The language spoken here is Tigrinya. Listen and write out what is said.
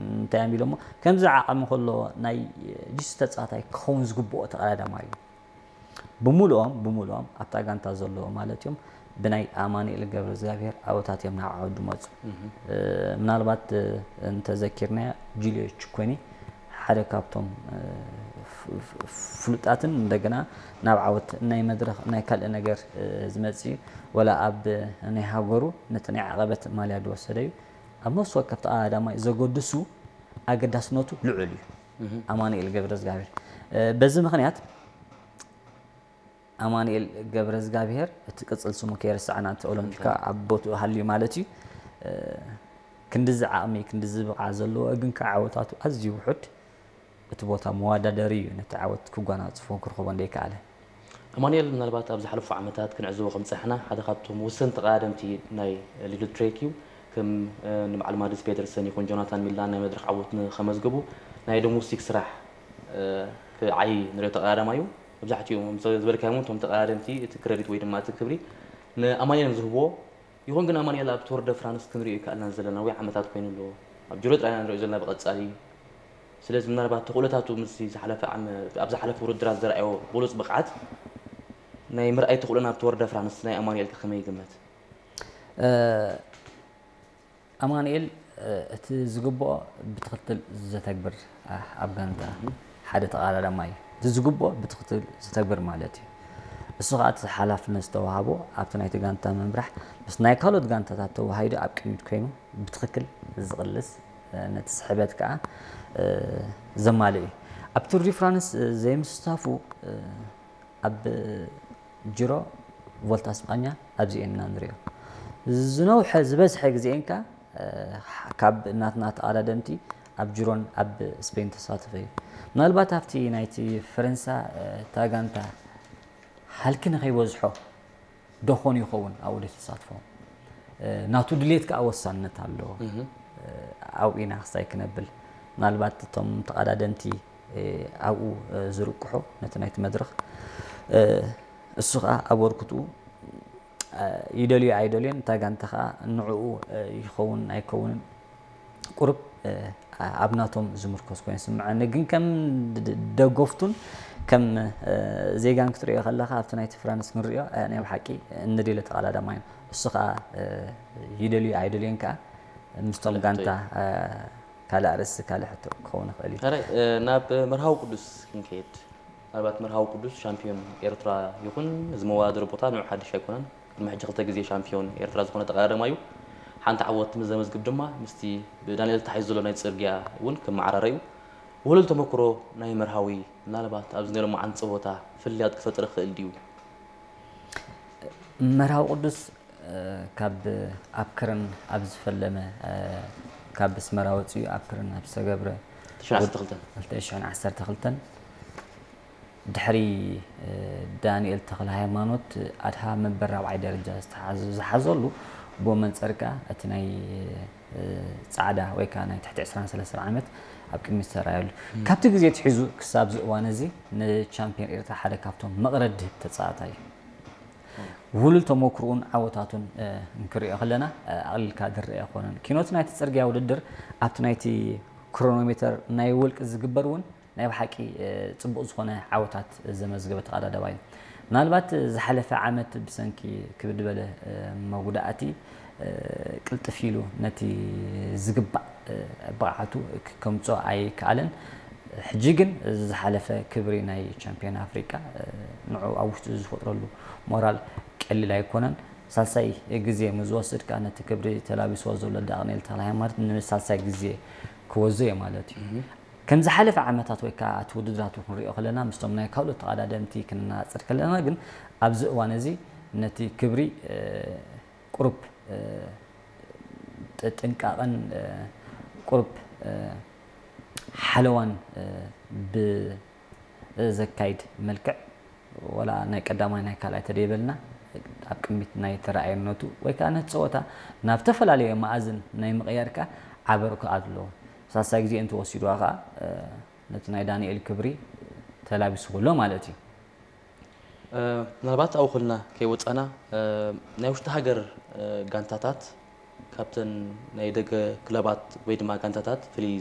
እንታይ እዮም ኢሎሞ፣ ከምዚ ዓቐሚ ከሎ ናይ ጅስ ተጻዋታይ ክኸውን ዝግብኦ ተቐዳዳማይ እዩ። ብምሉኦም፣ ብምሉኦም ኣብታ ጋንታ ዘለዉ ማለት እዮም፣ ብናይ ኣማኑኤል ገብረዝጋብሄር ኣብታት እዮም ናብ ዓወት ዝመጹ። እ፣ ምናልባት፣ እ፣ እንተዘኪርናዮ፣ ጁልዮ ቹኮኒ ሓደ ካብቶም፣ እ፣ ፍ-፣ ፍ-፣ ፍሉጣትን እንደገና ናብ ዓወት ናይ መድረኽ ናይ ካልእ ነገር፣ እ፣ ዝመጽእ እዩ። ወላ ኣብ ናይ ሃገሩ ነቲ ናይ ዓቐበት ማልያ ዝወሰደ እዩ። ኣብ ነፍሲ ወከፍ ተቐዳዳማይ ዘገድሱ ኣገዳስነቱ ልዑል እዩ። ኣማኑኤል ገብረዝጋብሄር። እ፣ በዚ ምኽንያት ኣማኑኤል ገብረዝጋብሄር፣ እቲ ቅጽል ስሙ ከይረሳዕና፣ እቲ ኦሎምፒካ ኣብ ቦትኡ ሃልዩ ማለት እዩ። እ፣ ክንድዚ ዓቕሚ፣ ክንድዚ ብቕዓት ዘለዎ፣ ግን ከዓ ዓወታቱ ኣዝዩ ውሑድ፣ እቲ ቦታ መወዳደሪ እዩ፣ ነቲ ዓወት ክጓናጽፎን ክረኽቦን ዘይከኣለ። ኣማኑኤል፣ ምናልባት ኣብ ዝሓለፉ ዓመታት ክንዕዘቦ ከም ጸሕና፣ ሓደ ካብቶም ወሰንቲ ተቐዳደምቲ ናይ ሊድል ትሬክ እዩ። ከም፣ እ፣ ንበዓል ማድስ ፔደርሰን ይኹን ጆናታን ሚላን ናይ መድረኽ ዓወት ንኸመዝግቡ ናይ ዶሜስቲክ ስራሕ፣ እ፣ ክዓዪ ንሪኦ ተቐዳዳማይ እዩ። መብዛሕትኡ፣ ምስ ዝበልካዮም እውን፣ እቶም ተቐዳደምቲ እቲ ክረዲት ወይ ድማ እቲ ክብሪ ንኣማኑኤል እዮም ዝህብዎ። ይኹን ግን ኣማኑኤል ኣብ ቶር ደ ፍራንስ ክንሪኦ ይከኣልና ዘለና ነዊሕ ዓመታት ኮይኑ ኣሎ። ኣብ ጁሮ ጥራይ ኢና ንሪኦ ዘለና ብቐጻሊ። ስለዚ ምናልባት ተኽእሎታቱ ምስቲ ዝሓለፈ ዓመ-፣ ኣብ ዝሓለፈ ውድድራት ዘርኣዮ ብሉጽ ብቕዓት ናይ ምርኣይ ተኽእሎና ኣብ ቶር ደ ፍራንስ ናይ ኣማኑኤል ከ ከመይ ይግመት? እ፣ ኣማኑኤል፣ እ፣ እቲ ዝግብኦ ብትኽክል ዘተግብር፣ እ፣ ኣብ ጋንታ ሓደ ተቐዳዳማይ እዩ። እቲ ዝግብኦ ብትኽክል ዘተግብር ማለት እዩ። እሱ ኸኣ እቲ ሓላፍነት ዝተዋህቦ ኣብቲ ናይቲ ጋንታ ምምራሕ ምስ ናይ ካልኦት ጋንታታት ተዋሃሂዱ ኣብ ቅድሚት ኮይኑ ብትኽክል ዝቕልስ፣ እ፣ ነቲ ስሕበት ከኣ፣ እ፣ ዘማልእ እዩ። ኣብ ቱር ዲ ፍራንስ፣ እ፣ ዘይምስታፉ፣ እ፣ ኣብ ጂሮ ቮልታ ስጳኛ ኣብዚኤን ኢና ንሪኦ። ዝነውሐ ዝበዝሐ ግዜኤን ከኣ፣ እ፣ ካብ ናትና ተቐዳደምቲ ኣብ ጅሮን ኣብ ስፔን ተሳተፈ እዩ። ምናልባት ኣብቲ ናይቲ ፈረንሳ፣ እ፣ እታ ጋንታ ሃልኪ ንኸይበዝሖ ደኾን ይኸውን ኣብኡ ተሳትፎ። እ፣ ናቱ ድሌት ከኣ ወሳንነት ኣለዎ። እ፣ ኣብኡ ኢና ክሳይ ክነብል። ምናልባት እቶም ተቐዳደምቲ፣ እ፣ ኣብኡ፣ እ፣ ዝርቅሑ ነቲ ናይቲ መድረኽ፣ እ፣ እሱ ከኣ ኣበርክትኡ፣ እ፣ ይደልዮ ኣይደልዮን፣ እታ ጋንታ ከኣ ንዕኡ፣ እ፣ ይኸውን ኣይከውንን ቁሩብ፣ እ፣ ኣብ ናቶም ዝምርኮስ ኮይኑ ይስምዐኒ። ግን ከም ድ-፣ ድ-፣ ደገፍቱን ከም፣ እ፣ ዜጋን ክትሪኦ ከለኻ ኣብቲ ናይቲ ፍራንስ ክንሪኦ፣ እ፣ ናይ ብሓቂ እንደልዮ ተቐዳዳማይ እዩ። እሱ ከኣ፣ እ፣ ይደልዮ ኣይደልዮን ከኣ ምስቶም ካልእ ጋንታ፣ ሕቶ እዩ። እ፣ ካልእ ኣርእስቲ፣ ካልእ ሕቶ ክኸውን ይኽእል እዩ። ሕራይ፣ እ፣ ናብ መርሃዊ ቅዱስ ክንከይድ። ምናልባት መርሃዊ ቅዱስ ሻምፒዮን ኤርትራ ይኹን፣ እዚ መወዳደሪ ቦታ ንዑ ሓድሽ ኣይኮነን። ቅድሚ ሕጂ ክልተ ግዜ ሻምፒዮን ኤርትራ ዝኾነ ተቐዳዳማይ እዩ። ሓንቲ ዓወት ምስ ዘመዝግብ ድማ ምስቲ ብዳንኤል ተታሒዙ ዘሎ ናይ ጽርግያ እውን ክመዓራረ እዩ። ውህሉል ተመክሮ ናይ መርሃዊ ምናልባት ኣብዚ ናይ ሎማዓንቲ ጸወታ ፍልልያት ክፈጥር ይኽእል ድዩ? መርሃዊ ቅዱስ፣ እ፣ ካብ ኣብ ክርን ኣብ ዝፈለመ፣ እ፣ ካብ ኣስመራ ወጺኡ ኣብ ክርን ኣብ ዝተገብረ ክልተ ሽሕን ዓሰርተ ክልተን። ክልተ ሽሕን ዓሰርተ ክልተን ድሕሪ፣ እ፣ ዳንኤል ተኽለ ሃይማኖት ኣድሃ መንበር ራብዓይ ደረጃ ዝተሓዘ-፣ ዝሓዘሉ፣ ብኡ መንጸር ከኣ እቲ ናይ፣ እ፣ ጻዕዳ ወይ ከኣ ናይ ትሕቲ ዕስራን ሰለስተን ዓመት ኣብ ቅድሚት ዝተራእየሉ። ም። ካብቲ ግዜ ኣትሒዙ ክሳብ እዚ እዋን እዚ ንቻምፒዮን ኤርትራ ሓደ ካብቶም መቕረት ድህብ ተጻዋታይ እዩ። ውህሉል ተመክሮኡን ዓወታቱን፣ እ፣ እንክሪኦ ከለና፣ እ፣ ኣቕሊልካ ዝረአ ኣይኮነን። ኪኖት ናይቲ ጽርግያ ውድድር ኣብቲ ናይቲ ክሮኖሜተር ናይ ወልቂ ዝግበር እውን ናይ ብሓቂ፣ እ፣ ጽቡቕ ዝኾነ ዓወታት ዘመዝገበ ተቐዳዳማይ እዩ። ምናልባት ዝሓለፈ ዓመት ብሰንኪ ክብድ ዝበለ፣ እ፣ መጉዳእቲ፣ እ፣ ቅልጥፍ ኢሉ ነቲ ዝግባእ፣ እ፣ ብቕዓቱ ክ-፣ ከምጽኦ ኣይከኣለን። ሕጂ ግን እዚ ዝሓለፈ ክብሪ ናይ ቻምፒዮን ኣፍሪቃ፣ እ፣ ንዑ ኣብ ውሽጡ ዝፈጥረሉ ሞራል ቀሊል ኣይኮነን። ሳልሳይ ግዜ ምስ ዝወስድ ከኣ ነቲ ክብሪ ተላቢስዎ ዘሎ ዳንኤል ተኽለሃይማኖት ንሳልሳይ ግዜ ክወዞ እዩ ማለት እዩ። እህ። ከም ዝሓለፈ ዓመታት ወይ ከኣ እቲ ውድድራቱ ክንሪኦ ከለና ምስቶም ናይ ካልኦት ተቐዳደምቲ ክነነጻጽር ከለና ግን ኣብዚ እዋን እዚ ነቲ ክብሪ፣ እ፣ ቁሩብ፣ እ፣ ጥ-፣ ጥንቃቐን፣ እ፣ ቁሩብ፣ እ፣ ሓለዋን፣ እ፣ ብዘካይድ መልክዕ፣ ወላ ናይ ቀዳማይ ናይ ካልኣይ ተደይበልና፣ ኣብ ቅድሚት ናይ ተራኣየነቱ ወይ ከኣ ነቲ ጸወታ ናብ ዝተፈላለየ መኣዝን ናይ ምቕያር ከኣ ዓቢ ኣበርክቶ ኣለዎ። ሳልሳይ ግዜ እንተወሲድዋ ከኣ፣ እ፣ ነቲ ናይ ዳንኤል ክብሪ ተላቢስዎ ኣሎ ማለት እዩ። እ፣ ምናልባት ኣብኡ ከለና ከይወጻና፣ እ፣ ናይ ውሽጢ ሃገር፣ እ፣ ጋንታታት ካብተን ናይ ደገ ክለባት ወይ ድማ ጋንታታት ፍልይ